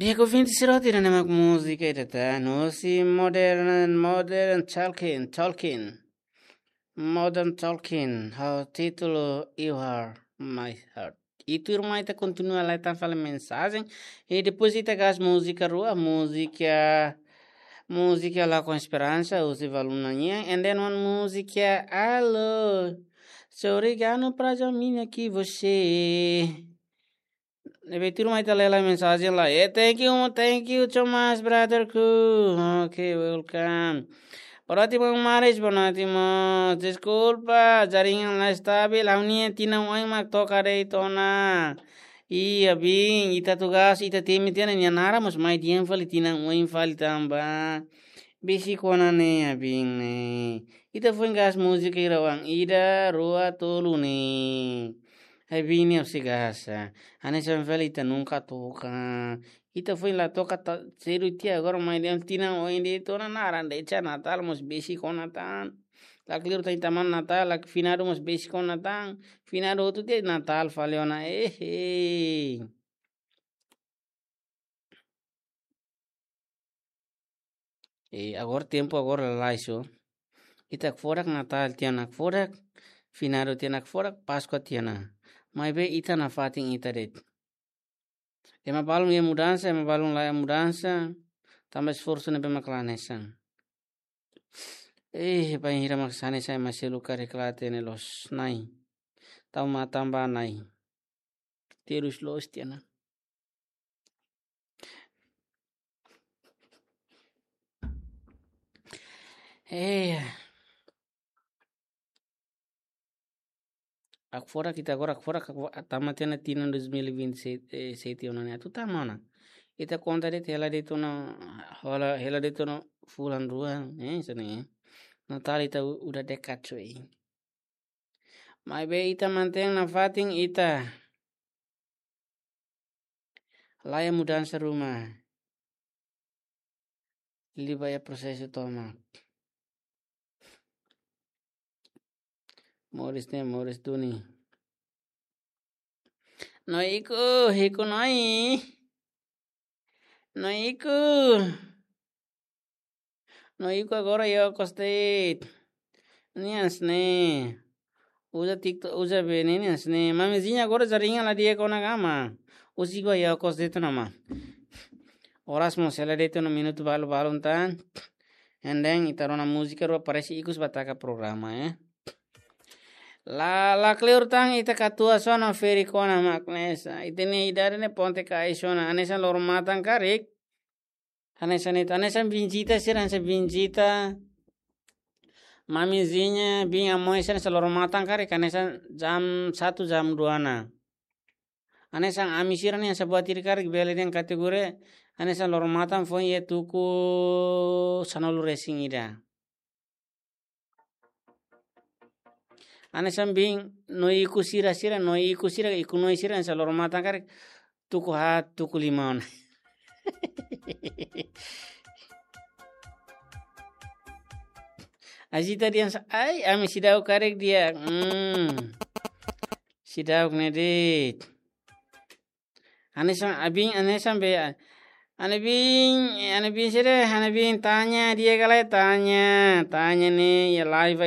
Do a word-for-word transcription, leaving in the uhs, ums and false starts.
Di'ak ouvinte sira hotu, ida-ne'e mak múzika ida tan, husi Modern, Modern Talking, Talking. Modern Talking, ho títulu You Are My Heart. I tuirmai ita kontinua lai tan fali mensajen. I depois ita gás múzika rua, múzika, múzika La Esperansa, husi Valuna nian. And then one múzika, Alô, sou obrigado pra caminho que você. Ne'ebé tuirmai ita lee lai mensajen lai. Eh, thank you, thank you so much, brother Ku. Okay, welcome. Boa noite, maun Maris, boa noite, maun. Deskulpa, jaringan la estabil, ha'u-nia tinan oin mak toka de'it ona. Iya, bin, ita tugas, ita temi tiha ona nia naran, mas mai di'ak fali tinan oin fali tanba. Besik ona ne'e, bin ne'e. Ita foin gás múzika hira oan, ida, rua, tolu ne'e. Ai, bin ne'e husi gás. Hanesan fali ita nunka toka. Ita foin la toka ta, sedu tiha agora mai di'ak tinan oin de'it ona naran de'it Natál mós besik ona tan. La kleur tan ita-nia Natál, la finadu mós besik ona tan. Finadu hotu tiha Natál fali ona. Eh, eh. E agora tempu agora lalais so. Ita hakfodak Natál tiha ona hakfodak, finadu tiha ona hakfodak, Páskua tiha ona. Maibé ita nafatin ita de'it. Ema balun iha mudansa, ema balun la iha mudansa, tanba esforsu ne'ebé mak la hanesan. Eh, bainhira mak hanesan ema seluk karik la hatene loos, nai. Tau matan ba nai. Terus loos tiha ona. Eh, hakfodak ita agora, hakfodak, hakfodak, tama tiha ona tinan dois mil e vinte e sete, eh, sete ona ne'e. Atu tama ona. Ita konta de'it hela de'it ona, hola, hela de'it ona fulan rua, eh, hanesan ne'e. Natál ita u-, udah dekat, cuy. Maibé ita mantein nafatin ita. La iha mudansa ruma. Liu ba iha prosesu tomak. Moris ne'e, moris duni. Noi ikus, ikus noi. Noi ikus. Noi ikus agora iha okos de'it. Nia hanesan ne'e. Uza TikTok, uza B N N hanesan ne'e. Mamizinha agora jaringan la di'ak ona ka, maun. Husik ba iha okos de'it ona, maun. Oras mós hela de'it ona minutu balu-balun tan. And then ita rona múzika rua parese ikus ba taka programa, eh. La, la kleur tan ita katuas ona ferik ona mak hanesan. Ita-nia idade ne'e ponte-kaxi ona. Hanesan loro-matan karik. Hanesan ita, hanesan bin Zita sira, hanesan bin Zita. Mamizinha, bin Amoy sira, hanesan loro-matan karik, hanesan jam satu, jam dua ona. Hanesan ami sira ne'e, hanesan buat ida karik bele dehan kategori, hanesan loro-matan foin iha tuku sanulu-resin-ida. Hanesan bin, noi ikus sira-sira, noi ikus sira, ikus noi sira, hanesan loro-matan karik, tuku haat, tuku lima ona. Ai Zita dehan sa, ai, ami seidauk karik di'ak. Hmm. Seidauk ne'e de'it. Hanesan, abin, hanesan be, ha'u-nia bin, ha'u-nia bin sede, ha'u-nia bin Tanya, di'ak ka lae Tanya, Tanya ne'e, iha live